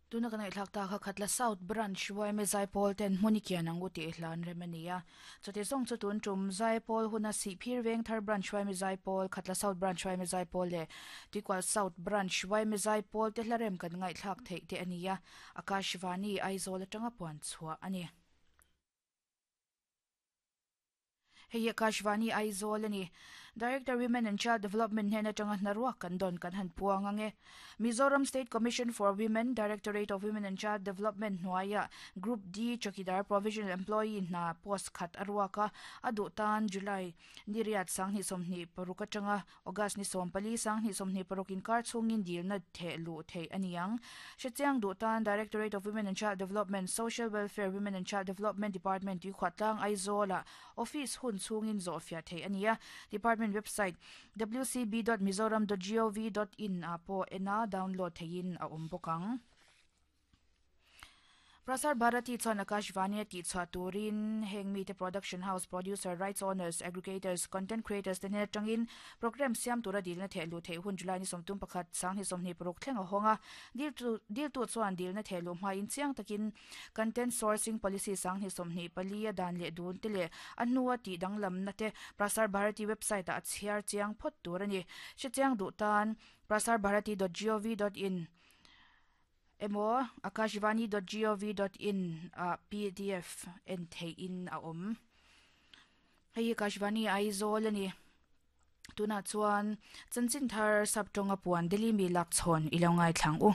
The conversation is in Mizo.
Tuna kan ngaihthlak ta kha Khatla South Branch yma Zaipawl ten hmun i kian ang u tih hlan rem a ni a. Chutih zawng chu tun tum Zaipawl huna Sihphir Vengthar Branch yma Zaipawl, Khatla South Branch yma Zaipawl leh Tuikual South Branch yma Zaipawl te hla rem kan ngaihthlak theih te a ni a, Akashvani Aizawl atanga puan chhuah a ni. Hei hi Akashvani Aizawl a ni. Director Women and Child Development hnen atanga hnaruak kan dawn kan han puang ang e. Mizoram State Commission for Women, Directorate of Women and Child Development hnuaiah Group D Chawkidar Provisional Employee hna post khat a ruak a, a duh tan July ni riat 2026 atanga August ni 14 2026 inkar chhungin dilna theh luh theih a ni ang. Hrechiang duh tan Directorate of Women and Child Development, Social Welfare, Women and Child Development Department Tuikhuahtlang Aizawlah office hun chhungin zawhfiah theih a ni a. Department website wcb dot mizoram dot gov dot in ah pawh en a download theihin a awm bawk ang. Prasar Bharati chuan Akashvani a tihchhuah turin heng mite production house, producer, rights owners, aggregators, content creators te hnen atangin programme siam tura dilna theh luh theih hun July ni 31, 2026 thleng a hawng a. Diltu diltu chuan dilna theh luh hmain chiang takin content sourcing policy 2024 a dan leh dun te leh a hnua tih danglamna te Prasar Bharati website ah a chhiar chiang phawt tur a ni. Hrechiang duh tan prasarbharati dot gov dot in. Emaw akashvani dot gov dot in ah pdf en theih in a awm. Hei hi Akashvani Aizawl a ni. Tunah chuan chanchin thar sap tawnga puan Delhi mi lak chhawn i lo ngaithla ang u.